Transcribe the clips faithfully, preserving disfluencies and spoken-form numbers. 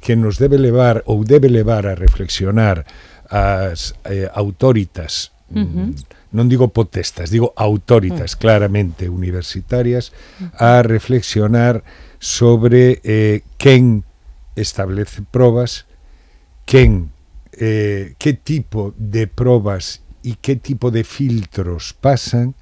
que nos debe levar ou debe levar a reflexionar as eh, autoritas, uh-huh. non digo potestas, digo autoritas uh-huh. claramente universitarias, uh-huh. a reflexionar sobre eh, quen establece probas, quen, eh, que tipo de probas e que tipo de filtros pasan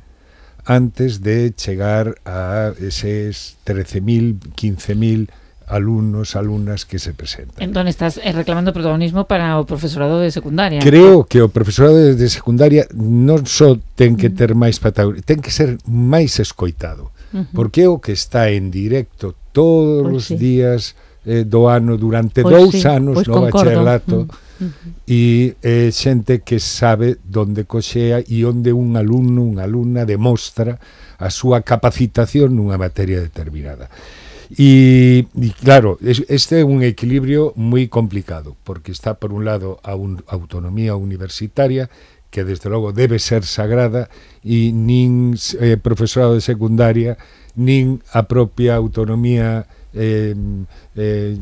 antes de chegar a eses trece mil, quince mil alumnos, alumnas que se presentan. Entón estás reclamando protagonismo para o profesorado de secundaria. Creo que o profesorado de secundaria non só ten que ter máis protagonismo, ten que ser máis escoitado, uh-huh. porque é o que está en directo todos pues os sí. días eh, do ano durante pues dous sí. anos pues no concordo. bacharelato, uh-huh. e eh, xente que sabe donde coxea e onde un alumno, unha alumna demostra a súa capacitación nunha materia determinada. E, e claro, este é un equilibrio moi complicado, porque está por un lado a un, autonomía universitaria, que desde logo debe ser sagrada, e nin eh, profesorado de secundaria, nin a propia autonomía eh, eh,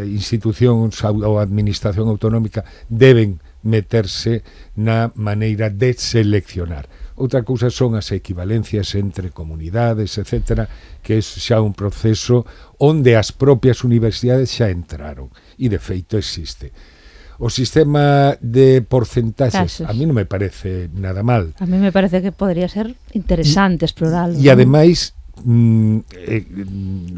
institución ou administración autonómica deben meterse na maneira de seleccionar. Outra cousa son as equivalencias entre comunidades, etcétera, que é xa un proceso onde as propias universidades xa entraron, e de feito existe. O sistema de porcentaxes, a mí non me parece nada mal. A mí me parece que podría ser interesante explorarlo. E ademais, mm, eh,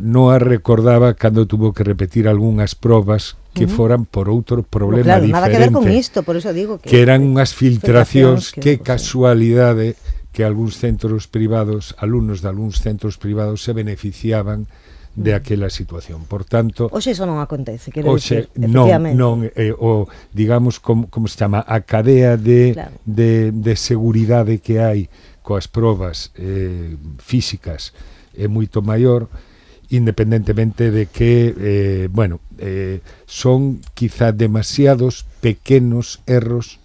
non a recordaba cando tuvo que repetir algunhas probas que uh-huh. foran por outro problema no, claro, diferente. Nada que ver con isto, por eso digo que... Que eran unhas filtracións, que, que casualidade que algúns centros privados, alumnos de algúns centros privados se beneficiaban de aquela situación. Por tanto... Oxe, eso non acontece, quero oxe, dicir, non, efectivamente. non, eh, o, digamos, como, como se chama, a cadea de, claro. de, de seguridade que hai coas probas eh, físicas é moito maior, independentemente de que, eh, bueno, eh, son quizá demasiados pequenos erros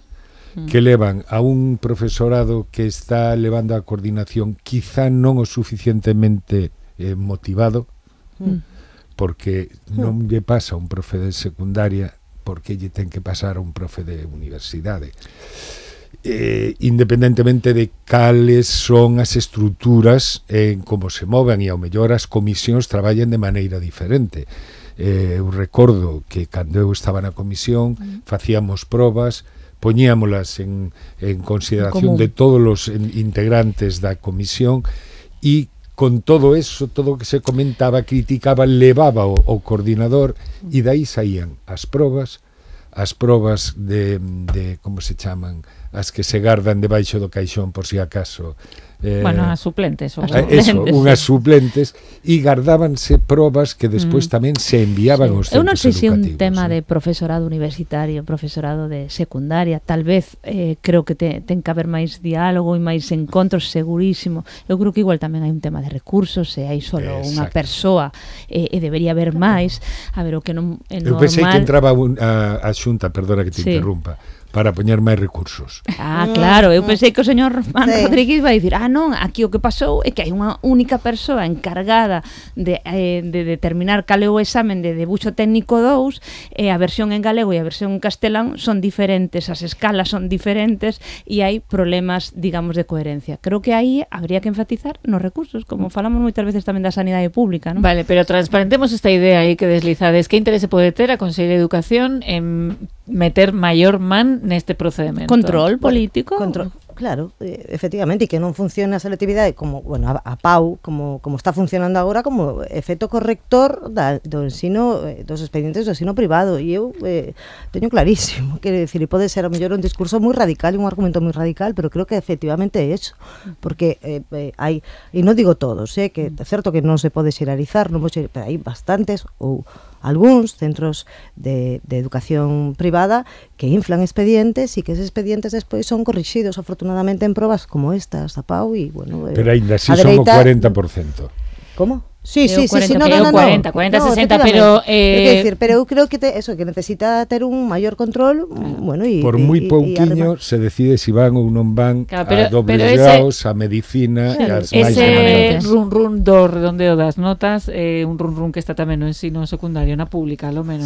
mm. que levan a un profesorado que está levando a coordinación quizá non o suficientemente eh, motivado, mm. porque mm. non lle pasa a un profe de secundaria porque lle ten que pasar a un profe de universidade. Eh, independentemente de cales son as estruturas en como se moven, e ao mellor as comisións traballan de maneira diferente. Eh, eu recordo que cando eu estaba na comisión mm. facíamos probas, poñíamolas en, en consideración de todos os integrantes da comisión, e con todo eso, todo o que se comentaba, criticaba, levaba o, o coordinador, e daí saían as probas, as probas de, de como se chaman, as que se gardan debaixo do caixón por si acaso. Eh, bueno, as suplentes. Ou eso, unhas suplentes, e gardábanse probas que despois mm. tamén se enviaban sí. aos centros educativos. Eu non sei se un eh? tema de profesorado universitario, profesorado de secundaria, tal vez eh, creo que te, ten que haber máis diálogo e máis encontros, segurísimo. Eu creo que igual tamén hai un tema de recursos, se hai solo unha persoa eh, e debería haber máis. A ver, o que non é normal... Eu pensei que entraba un, a, a xunta, perdona que te sí. interrumpa, para poñer máis recursos. Ah, claro, eu pensei que o señor Román sí. Rodríguez vai dicir, ah, non, aquí o que pasou é que hai unha única persoa encargada de, eh, de determinar cal é o examen de debuxo técnico dous, e a versión en galego e a versión en castelán son diferentes, as escalas son diferentes, e hai problemas, digamos, de coherencia. Creo que aí habría que enfatizar nos recursos, como falamos moitas veces tamén da sanidade pública, non? Vale, pero transparentemos esta idea aí que deslizades. Que interese pode ter a Consellería de Educación en meter maior man neste procedemento? Control político. Control, claro, eh, efectivamente, e que non funcione a selectividade como, bueno, a, a P A U, como, como está funcionando agora, como efecto corrector da, do ensino, eh, dos expedientes do ensino privado, e eu eh, teño clarísimo, quero dicir, e pode ser a mellor un discurso moi radical e un argumento moi radical, pero creo que efectivamente é eso, porque eh, eh, hai, e non digo todos, eh, que é certo que non se pode xeralizar, non pode, pero hai bastantes, ou algúns centros de, de educación privada que inflan expedientes e que esos expedientes despois son corrixidos afortunadamente en probas como estas, a P A U, e bueno, pero ainda así son o cuarenta por cento. Como? Sí, sí, sí, sí, no, no, no, cuarenta, cuarenta, no, sesenta, pero eh decir, pero eu creo que te, eso que necesita ter un maior control, bueno, y por moi pouquiño se decide si van ou non van claro, pero, a dobles graus, a medicina, sí, as máis ese run run do redondeo das notas, eh, un run run que está tamén no ensino secundario, na pública, lo menos.